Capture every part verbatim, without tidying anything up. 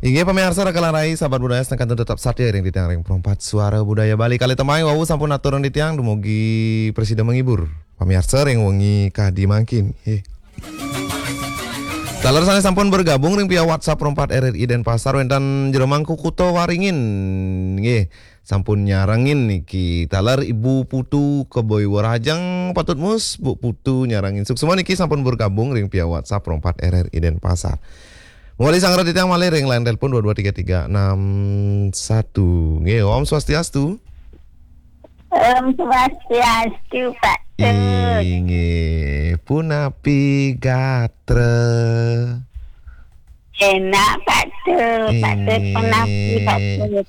Inggih pamiarsa Raka lan Rai, sahabat budaya, sané kantun tetep satia ring titiang ring Perempat Suara Budaya Bali. Kalih tembang wau sampun aturang titiang dumugi prasida menghibur pamiarsa ring wengi kadi mangkin. Nggih. Taler sané sampun bergabung ring via WhatsApp Perempat R R I Denpasar wénten Jero Mangku Kuta Waringin. Nggih, sampun nyarengin niki. Taler Ibu Putu Keboi Werajeng, patut mus Bu Putu nyarengin. Suksma niki sampun bergabung ring via WhatsApp Perempat R R I Denpasar. Mawali sanggra titiang malih ring line telepon dua dua tiga tiga enam satu. Nggih, Om Swastiastu. Om Swastiastu, Pak Tut. Inggih, punapi gatra? Enak, Pak Tut. Pak Tut, inggih, punapi, Pak Tut?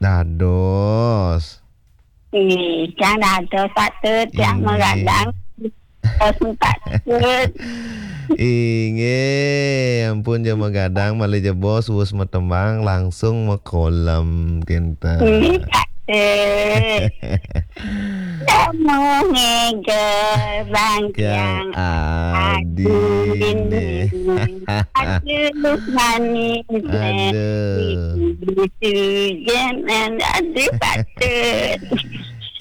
Dados. Ih, tiang dados, Pak Tut, tiang, inggih, magadang. Dados, Pak Tut. Inggih, ampun ja magadang, malih ja bos wus matembang langsung makolem kinten. Inggih, Pak Tut. Namo ngeger bang tiang adine. Aduh, manis. Aduh. Aduh, Pak Tut.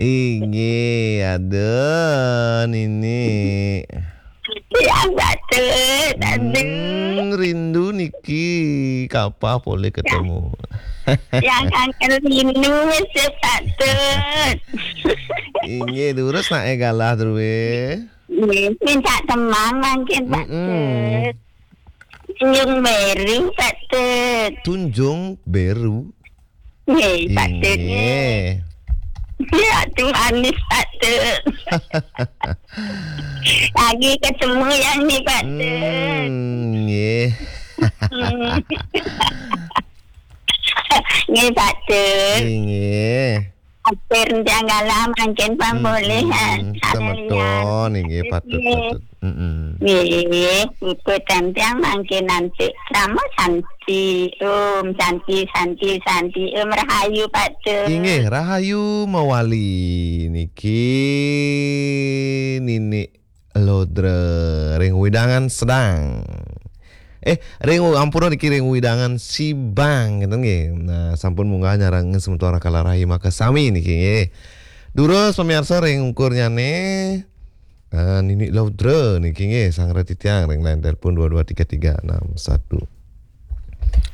Inggih, aduh, Nini. Yang Pak Tut, aduh. Hmm, rindu niki, kapan polih ketemu? Yang kangen rindu, Pak Tut. Inggih, durus nak galah, Drue. Nggih, minta tembang mangkin, Pak Tut. Tunjung Beru, Pak Tut. Tunjung Beru. Nggih, Pak Tut, nggih. Ya, Tuhan, Pak Tut. Lagi ketemu yang ni, Pak Tut. Hmm, nggih. Hmm. Nggih, Pak Tut. Nggih. Hampir tiang galah mangkin pambolih, hmm, semeton, inggih, patut, patut. Mm-mm. Nggih, puput tiang mangkin nanti. Nama Santi, Om Santi, Santi, Santi, Om Rahayu, Pak Tut. Inggih, Rahayu mawali niki Nini Lodra ring wewidangan Sedang. Eh, ring, ampura niki, ring wewidangan Sibang, ngéten nggih. Nah, sampun munggah nyarengin semeton Raka lan Rai makasami niki nggih. Durus pamiarsa ring ungkurnyane, nah, Nini Lodra niki nggih, sanggra titiang ring line telepon dua dua tiga tiga enam satu.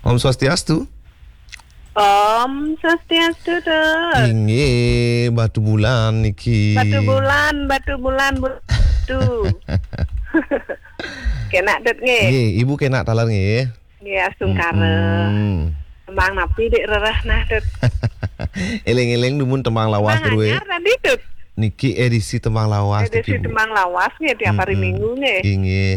Om Swastiastu. Om Swastiastu, Tut. Inggih, Batu Bulan niki. Batu Bulan, Batu Bulan, Batu. Kenak, Tut, nggih. Nggih, Ibu kenak taler nggih. Nggih, astungkara. Mm-mm. Tembang napi dik rereh nah, Tut? Eling-eling dumun tembang lawas, Tut, nggih. Tembang anyar tadi, Tut. Niki edisi tembang lawas, edisi niki, Bu. Tembang lawas nggih, tiap hari, mm-mm, minggu nggih. Inggih.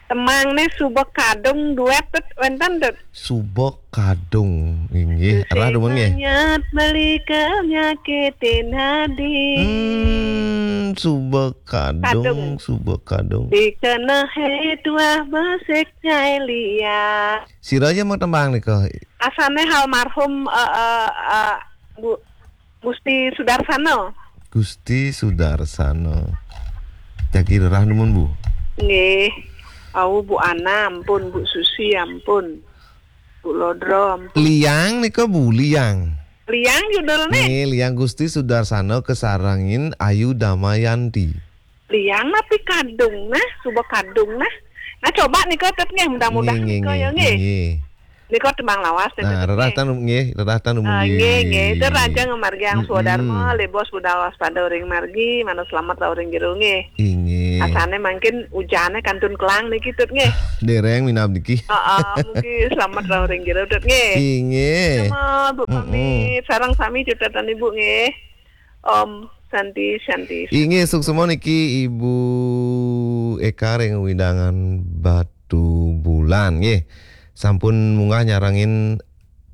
Tembang nih Suba Kadung duet, Tut, wénten, Tut. Suba Kadung, inggih. Rereh dumun nggih. Sing manyat beli kenyakitin hati. Hmm, Suba Kadung, Kadung. Suba Kadung. Dikenehe tuah besik nyai lia. Sira ja mau tembang nika? Asane almarhum, eh, eh, eh, Bu Gusti Sudarsana. Gusti Sudarsana. Jagi rereh dumun, Bu. Nggih. Au, Bu Ana ampun, Bu Susi ampun. Bu Lodra ampun. Liang nika, Bu, Liang. Liang judulne? Nggih, Liang Gusti Sudarsana kasarengin Ayu Damayanti. Liang napi Kadung nah, Suba Kadung nah. Nah, coba nika, Tut, nggih, mudah-mudahan nggih, nika nggih, ya, nggih. Nggih. Nika tembang lawas, nah, Tut, rereh nggih. Tan nggih, rereh tan. Ah, nggih, nggih. Tut, raga ngamargiang swadarma, mm-mm, lebos budal waspada uring margi, manut slamet rauh ring jero nggih. Inggih. Asane mangkin ujane kantun kelang niki, Tut, nggih. Dereng minab niki. Heeh, mugi slamet rauh ring jero, Tut, nggih. Inggih. Sama, Bu, mm-mm, pamit. Sareng sami cutetan Ibu nggih. Om Santi, Santi. Inggih, suksma niki Ibu Eka ring wewidangan Batu Bulan, nggih. Sampun munggah nyarengin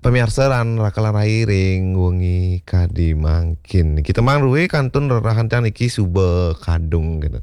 pamiarsa lan Raka lan Rai ring wengi kadi mangkin. Niki tembang druwe kantun rerehang tiang niki Suba Kadung, gitu.